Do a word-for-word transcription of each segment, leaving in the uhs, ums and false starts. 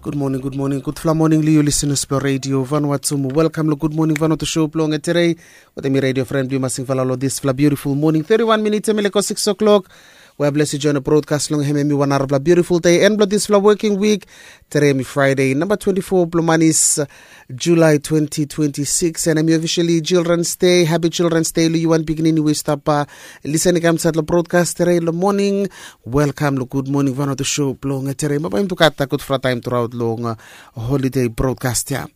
Gud moning, gud moning, gudfala moning long yu lisenas blong Radio Vanuatu. Mo welkam long Gud Moning Vanuatu show blong tere. Wetem mi radio fren blong yu Masing Fala long disfala biutiful moning. Thirty-one minutes em i leko six o'clock. We bless yu join brodkas long hem em i wan narafala biutiful dei en blong disfala working week. Tere em i Friday namba twenty-four blong manis, July twenty twenty-six, and em i officially Children's Day. Happy Children's Day long yu wan pikinini we i stap lisen i kam insait long brodkas tere long moning. Welkam long Gud Moning Vanuatu show blong tere. Mo bae yumi tu gat gudfala taem turaot long holiday brodkas ya.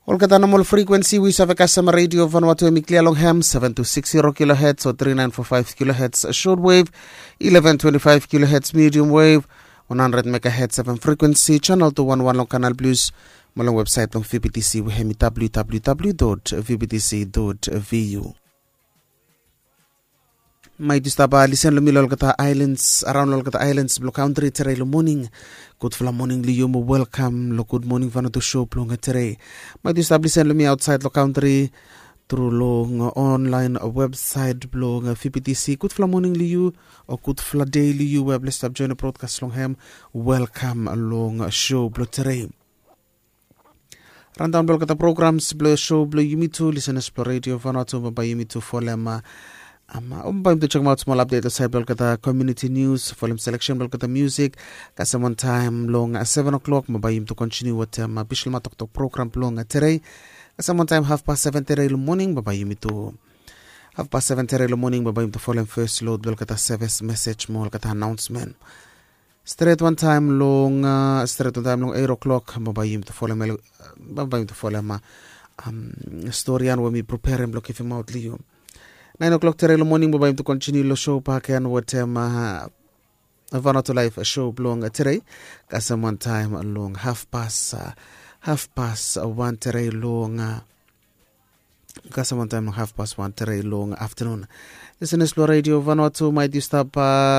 Olgeta nomol frekuensi we yu save kasem Radio Vanuatu em i klia long hem, seven two six zero kilohertz o three nine four five kilohertz shortwave, eleven twenty-five kilohertz medium wave, one hundred megahertz FM frekuensi, channel two one one long Kanal Plus, mo long websait blong V B T C we hem i www dot V B T C dot V U. Maet yu stap lisen long mi long olgeta aelans, araon long olgeta aelans blong kantri tere long moning. Gudfala moning long yu mo welkam long Gud Moning Vanuatu show blong tere. Maet yu stap lisen long mi aotsait long kantri tru long onlaen websait blong V B T C. Gudfala moning long yu o gudfala dei long yu we bless stap join brodkas long hem. Welkam long show blong tere. Randaon blong olgeta programs blong show blong yumi tu lisenas blong Radio Vanuatu, bambae yumi tu folem, bambae yumi tu jekemaot smol apdet long saed blong olgeta community news, folem seleksen blong olgeta musik. Kasem wantaem long seven o'clock bambae yumi tu kontiniu wetem Bislama Toktok program blong tere. Kasem wantaem hafpas seven tere long moning bambae yumi tu hafpas seven tere long moning bambae yumi tu folem fes lod blong olgeta seves mesej mo olgeta anaonsmen. Stret wantaem long stret wantaem long eight o'clock bambae yumi tu folem, bambae yumi tu folem stori ya we mi preperem blong givimaot long yu. Naen o'clock tere long moning bambae yumi tu kontiniu long show baken wetem Vanuatu Laef show blong tere. Kasem wantaem long hafpas, hafpas wan tere long kasem wantaem long hafpas wan tere long aftanun. Lisenas blong Radio Vanuatu, maet yu stap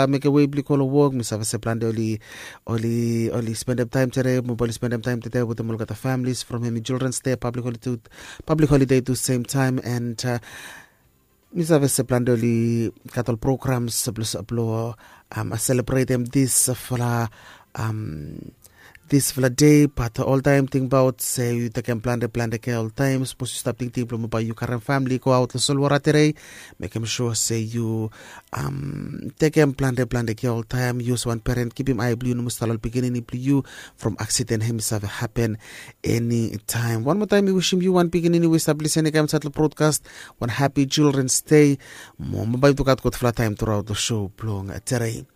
mekem wei blong yu go long wok. Mi save se plante oli, oli, oli spendem taem tere, mo bae oli spendem taem tere wetem olgeta familis from hem i Children's Day, public holiday tu, public holiday tu sem taem, and mi save se plante oli gat ol programs blong, blong selebretem disfala disfala dei, bat oltaem tingbaot se yu tekem plante plante kea oltaem. Sapos yu stap tingting blong mo bae yu karem famili go aot long solwota tere, mekem sua se yu tekem plante plante kea oltaem. Yu olsem wan peren, kipim ae blong yu nomo stap long ol pikinini blong yu from aksiden hem i save hapen enitaem. Wan moa taem mi wisim yu wan pikinini we i stap lisen i kam insait long brodkas wan hapi Children's Day. Mo bambae yumi tu gat gudfala taem turaot long show blong tere.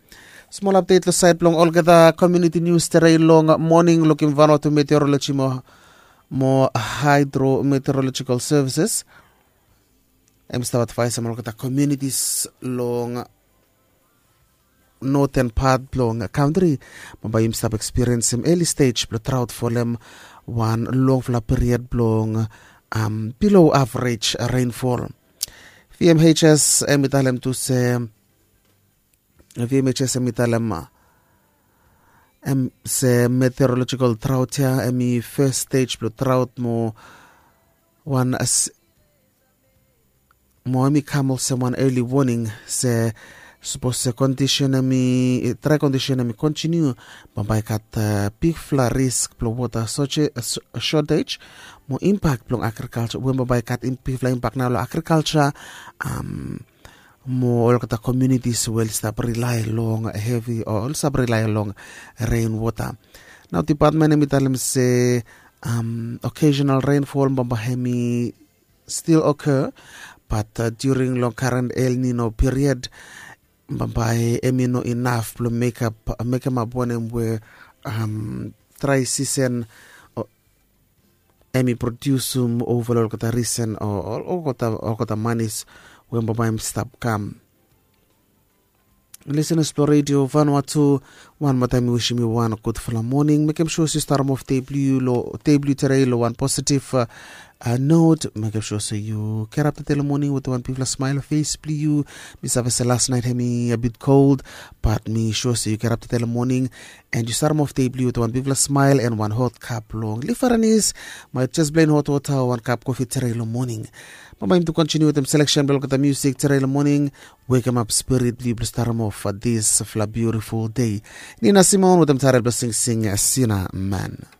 Smol apdet long saed blong olgeta community news tere long moning. Lukim Vanuatu Meteorology mo, mo Hydrometeorological Services, hem i stap advaesem olgeta communities long noten pat blong kantri bambae yumi stap ekspiriensem early stage blong drought folem wan longfala period blong below average rainfall. VMHS hem i talem tu se, VMHS hem i talem se meteorological drought ya hem i fes stage blong drought mo wan mo hem i kam olsem wan early warning se sapos se kondisen hem i, dry kondisen hem i kontiniu, bambae gat bigfala risk blong wota shortage mo impak blong agrikalsa, we bambae gat bigfala impak nao long agrikalsa mo olgeta communities we oli stap rilae long hevi o oli stap rilae long rainwater. Nao dipatmen hem i talem se occasional rainfall bambae hem i still occur, bat during long current El Nino period bambae hem i no inaf blong mekap, mekemap wanem we dry season hem i prodiusum ova long olgeta risen o olgeta, olgeta manis we bambae hem i stap kam. Lisenas blong Radio Vanuatu, wan moa taem mi wisim yu wan gudfala moning. Mekem sua se yu starem of dei blong yu long, dei blong yu tere long wan positive not. Mekem sua se yu gerap tede long moning wetem wan bigfala smael long fes blong yu. Mi save se las naet hem i a bit kold, bat mi sua se yu gerap tede long moning and yu starem of dei blong yu wetem wan bigfala smael and wan hot kap blong livarenis, maet jes plen hot wota o wan kap kofi tere long moning. Bambae yumi tu kontiniu wetem seleksen blong olgeta musik tere long moning. Wekemap spirit blong yu blong starem of disfala biutiful dei. Nina Simone wetem taet blong singsing Sina Man.